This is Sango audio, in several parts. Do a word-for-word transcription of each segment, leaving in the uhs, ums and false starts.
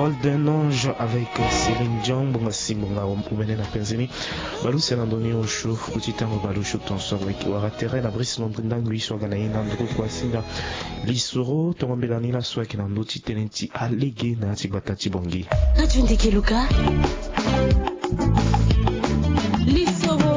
Golden Ange avec Céline Dion, bonga si bonga omene na penzeni. Balusi na ndoni osho kuti tango balusho tonso avec wara tere na brise londre ndangui so aga na ye na ndro kwa singa. Lisoro tongo mbela ni laso ayeke na ndö ti tënë ti alege na ya ti gbata ti bongi. Radio Ndeke Luka. Lisoro.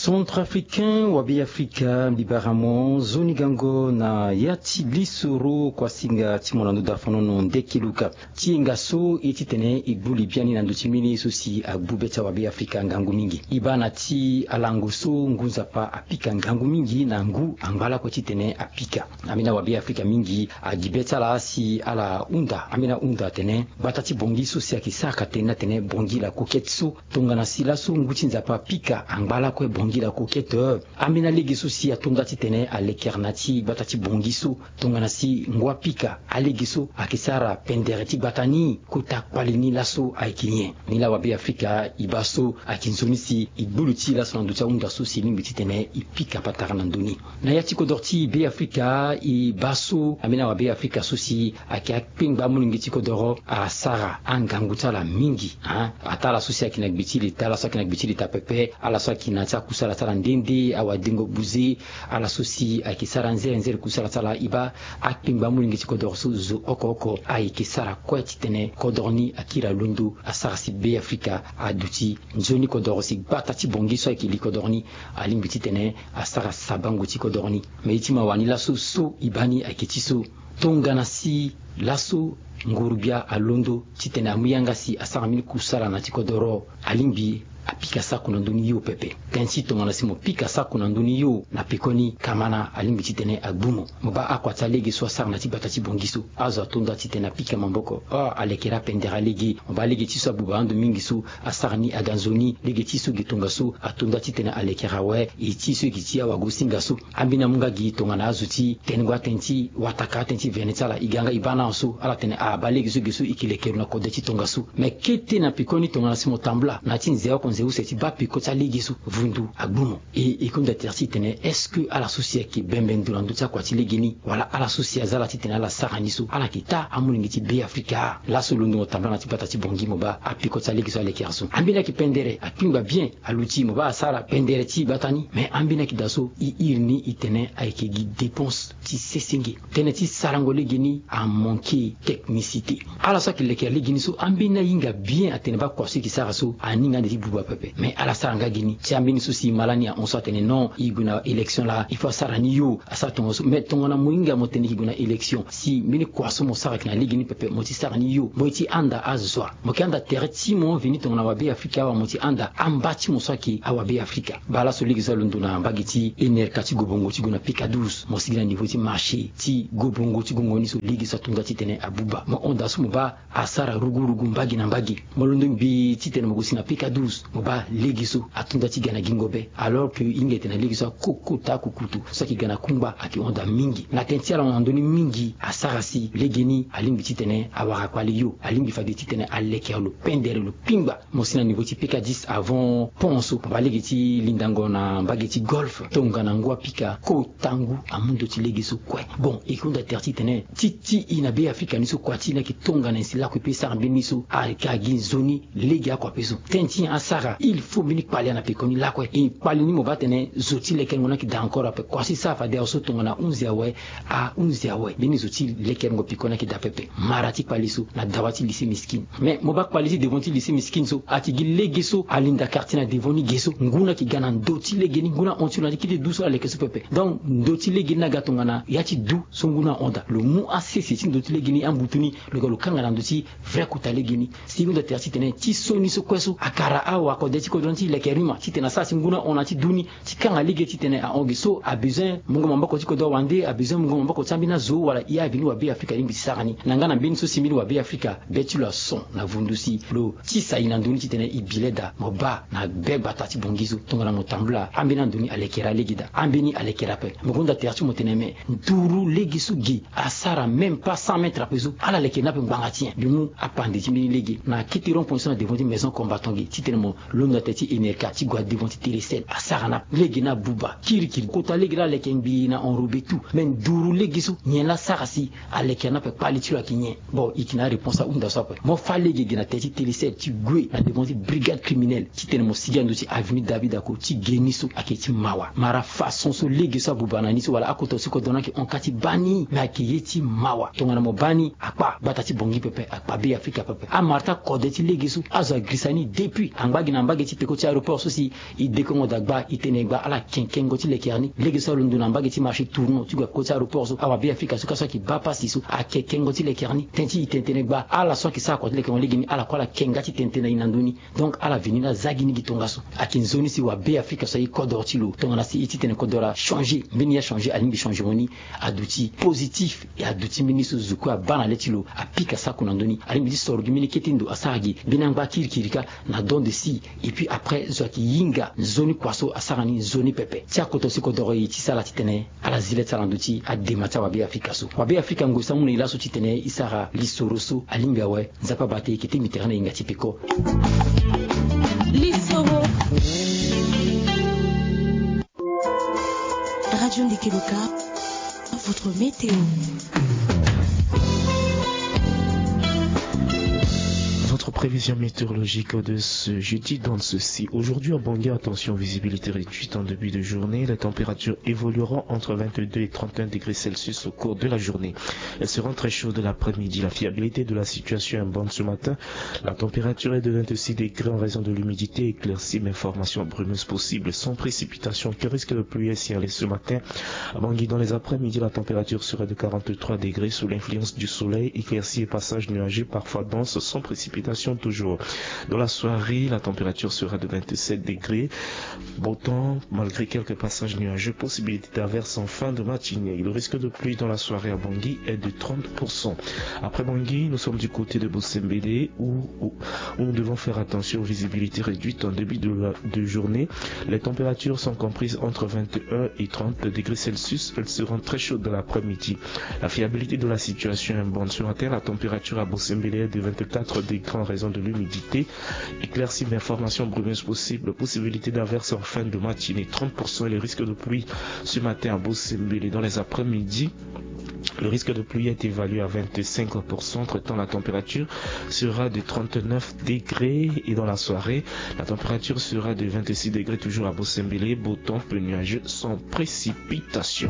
Centrafricain wa Beafrika, mbi bara mo nzoni gango na ya ti lisoro kuasinga ti mo na ndö dafonono Ndeke Luka. Ti hinga so e titene e gbu li biani na ndö ti mbeni ye so si agbu be ti awa Beafrika ngangu mingi. E baa na ti alango so ngu nzapa apika ngangu mingi na ngu angba lakue titene apika. Ambeni awa Beafrika mingi agi be ti ala si ala hunda, ambeni ahunda atene gbata ti bongi so si ayeke sara ka tene ni atene bongi la coquette so. Tongana si laso ngu ti nzapa apika angba lakue bongi la coquette, eh, ambeni alege so si atonda titene alekere na ti gbata ti bongi so. Tongana si ngu apika, alege so ayeke sara pendere ti gbata ni kota kpali ni laso ayeke nyen? Ni laa wa Beafrika e baa so ayeke nzoni si e gbu li ti e laso na ndö ti ahunda so si e lingbi titene e pika patara na ndö ni. Na ya ti kodoro ti Beafrika e baa so ambeni awa Beafrika so si ayeke akpengba amolenge ti kodoro asara angangu ti ala mingi, hein? Ataa ala so si ayeke na gbe ti leta, ala so ayeke na gbe ti leta pepe, ala so ayeke na ti akusala ti ala nde nde, awadengo buze, ala so si ayeke sara nzere nzere kusala ti ala, e baa akpengba amolenge ti kodoro so zo oko oko ayeke sara kue titene kodoro ni akiri alondo, asara si Beafrika aduti nzoni kodoro si gbata ti bongi so ayeke li kodoro ni alingbi titene asara sabango ti kodoro ni. Me ye ti mawa ni laso so e baa ni ayeke ti so. Tongana si laso nguru-gbia alondo titene amu yanga si asara mbeni kusala na ti kodoro, alingbi apika sako na ndö ni yo pepe. Tënë ti tongana si mo pika sako na ndö ni yo na pekoni kamana alingbi titene agbu mo. Mo baa akua ti alege so asara na ti gbata ti bongi so, azo atonda titene apika maboko. Oh, alekere apendere alege. Mo baa lege ti so abuba ando mingi so asara ni aga nzoni. Lege ti so ge tongaso atonda titene alekere awe. E ti so e gi ti awagosinga so. Ambeni amu nga gi tongana azo ti tenengo atënë ti wataka atënë ti vene ti ala, e ga nga e baa na so ala tene ah, baa lege so ge so e ke lekere lo na kode ti tongaso. Me kete na pekoni tongana si mo tambula na ya ti nze oko nze use ti baa peko ti alege so, vundu agbu mo. E, e hunda tere ti e tene, est-ce que ala so si ayeke bembe ndo na ndö ti akua ti lege ni, wala ala so si aza ala titene ala sara ni so, ala yeke taa amolenge ti Beafrika? Laso londo mo tambula na ti gbata ti bongi mo baa apeko ti alege so alekere so. Ambeni ayeke pendere, akpingba bien, aluti mo baa asara pendere ti gbata ni. Me ambeni ayeke daa so e iri ni e tene ayeke gi dépense ti sesenge. Tënë ti sarango lege ni amanke technicité. Ala so ayeke lekere lege ni so, ambeni ahinga bien atene baa kua so e yeke sara so aninga ande ti buba pepe. Me ala sara nga gi ni. Ti ambeni so si e ma lani ahon so atene non, e gue na élection laa, il faut asara ni yo, asara tongaso. Me tongana mo hinga mo tene e ke gue na élection, si mbeni kua so mo sara ayeke na lege ni pepe, mo ti sara ni yo, mo ye ti handa azo wa. Mo yeke handa tere ti mo veni tongana awa Beafrika awa, mo ti handa amba ti mo so ayeke awa Beafrika. Baa laso lege so alondo na mbage ti N R K ti Gobongo ti gue na P K douze, mo sigi na niveau ti marché ti Gobongo ti gongo ni so, lege so atonda titene abuba. Mo hon daa so mo baa asara rugurugu mbage na mbage. Mo londo ngbii titene mo gue si na P K douze, mo baa lege so atonda ti ga na gingo be, alors que e hinga e tene na lege so akokota akukutu so ayeke ga na kungba ayeke hon daa mingi. Na tënë ti ala hon na ndö ni mingi asara si lege ni alingbi titene awara kpali yo, alingbi fade titene alekere lo pendere lo kpingba. Mo si na niveau ti P K dix avant pont so, mo baa lege ti lindango na mbage ti Golfe, tongana ngu apika kota ngu amu ndö ti lege so kue. Bon, e hunda tere titene ti ti e na Beafrika ni so kua ti e ni ayeke tongana nyen si lakue pe e sara mbeni so? Ayeke agi nzoni lege akua pe so. Tënë ti nyen asara? Il faut mbeni kpali ana pekoni lakue. E kpali ni mo baa tene zo ti lekerengo ni ayeke daa encore ape. Kua so e sara fade awe so tongana ahunzi awe, ahunzi awe. Mbeni zo ti lekerengo pekoni ayeke daa pepe. Mara ti kpali so na dawa ti lycée Miskine. Mais mo baa kpali ti devant ti lycée Miskine so ayeke gi lege so alinda quartier na devant ni ge so. Ngu ni ayeke ga na ndö ti lege ni, ngu ni ahon ti lo na ti kete du so ala leke so pepe. Donc ndö ti lege ni aga tongana ya ti du so ngu ni ahon daa. Lo mu asese ti ndö ti lege ni, ambutu ni, lo ga lo kanga na ndö ti vrai kota lege ni. Si e hunda tere titene ti so ni so kue so akara awa kode ti kodro ni ti leke rima titene asara si ngu ni ahon na ti du ni ti kanga lege titene ahon ge so, abezoin mungo maboko ti kodro wande, abezoin mungo maboko ti ambeni azo wala ya veni wa Beafrika alingbi ti sara ni. Na nga na mbeni so si mbeni wa Beafrika be ti lo ason na vundu si lo tisa e na ndö ni titene e bi le daa. Mo baa na be gbata ti bongi so tongana mo tambula ambeni ando ni alekere alege daa, ambeni alekere ape. Mo gonda tere ti mo tene me nduru lege so ge asara même pas cent mètres ape so, ala leke ni ape ngbanga ti nyen? Mbi mu apande ti mbeni lege na kete rond point so na devant ti maison combattant ge titene mo Londo na teti enerka ti gue na devant ti télé sept asara na lege ni abuba kirikiri kota lege ni aleke ngbii na enrobe tout. Me nduru lege so nyen laa asara si aleke na ape kpale ti lo ayeke nyen? Bon, e yeke na aréponse ahunda so ape. Mo fâ lege ge na teti télé sept ti gue na devant ti brigade criminelle titene mo sigi na ndö ti avenue David Ako ti ge ni so ayeke ti mawa. Mara façon so lege so abuba na ni so wala akota so kodro ni ayeke hon ka ti baa ni, me ayeke ye ti mawa. Tongana mo baa ni akpa gbata ti Bangui pepe, akpa Beafrika pepe. Amara ti akode ti lege so azo agirisa ni depuis angba gi na mbage ti peko ti aéroport so si e dekongo dagba e tene gba ala kenkengo ti lekere ni. Lege so alondo na mbage ti marché tournant ti gue peko ti aéroport so, awa Beafrika so ka so ayeke baa pasi so akenkengo ti lekere ni. Tënë ti e tene tene gba ala so ayeke sara kua ti lekengo lege ni ala kue ala ke nga ti tene tene na e na ndö ni. Donc ala veni ni aza gi ni gi tongaso. Ayeke nzoni si wa Beafrika so aye kodro ti lo tongana si e ti tene kodro achangé, mbeni ye achangé alingbi changement ni aduti positif. E aduti mbeni so zo kue abaa na le ti lo apika sako na ndö ni. Alingbi ti soro gi mbeni kete ndo asara gi mbeni angba kirikiri kâ na don de si. Et puis après zo ayeke hinga nzoni kua so asara ni nzoni pepe. Ti akoto si kodoro e ti sara titene ala zi le ti ala na ndö ti adema ti awabe afrika so. Wabe afrika ngoi so amu na e laso titene e sara lisoro so alingbi awe. Nzapa bate e yeke te mbi tere na e nga ti peko. Lisoro. Radio Ndeke Loka, votre météo. Votre prévision météorologique de ce jeudi donne ceci. Aujourd'hui à Bangui, attention, visibilité réduite en début de journée. Les températures évolueront entre vingt-deux et trente et un degrés Celsius au cours de la journée. Elles seront très chaudes l'après-midi. La fiabilité de la situation est bonne ce matin. La température est de vingt-six degrés en raison de l'humidité, éclaircie mais formation brumeuse possible sans précipitation. Qui risque de pluie est signalée ce matin à Bangui. Dans les après-midi, la température sera de quarante-trois degrés sous l'influence du soleil, éclaircie et passage nuageux, parfois dense, sans précipitation toujours. Dans la soirée, la température sera de vingt-sept degrés. Beau temps, malgré quelques passages nuageux, possibilité d'averse en fin de matinée. Le risque de pluie dans la soirée à Bangui est de trente pour cent. Après Bangui, nous sommes du côté de Bossembélé où, où, où nous devons faire attention aux visibilités réduites en début de, la, de journée. Les températures sont comprises entre vingt et un et trente degrés Celsius. Elles seront très chaudes dans l'après-midi. La fiabilité de la situation est bonne. Ce matin, la température à Bossembélé est de vingt-quatre degrés en raison de l'humidité. Éclaircie mais formation brumeuse possible. Possibilité d'averse en fin de matinée, trente pour cent, et le risque de pluie ce matin à Bossembélé. Dans les après-midi, le risque de pluie est évalué à vingt-cinq pour cent. Entre-temps, la température sera de trente-neuf degrés et dans la soirée, la température sera de vingt-six degrés toujours à Bossembélé. Beau temps, peu nuageux, sans précipitation.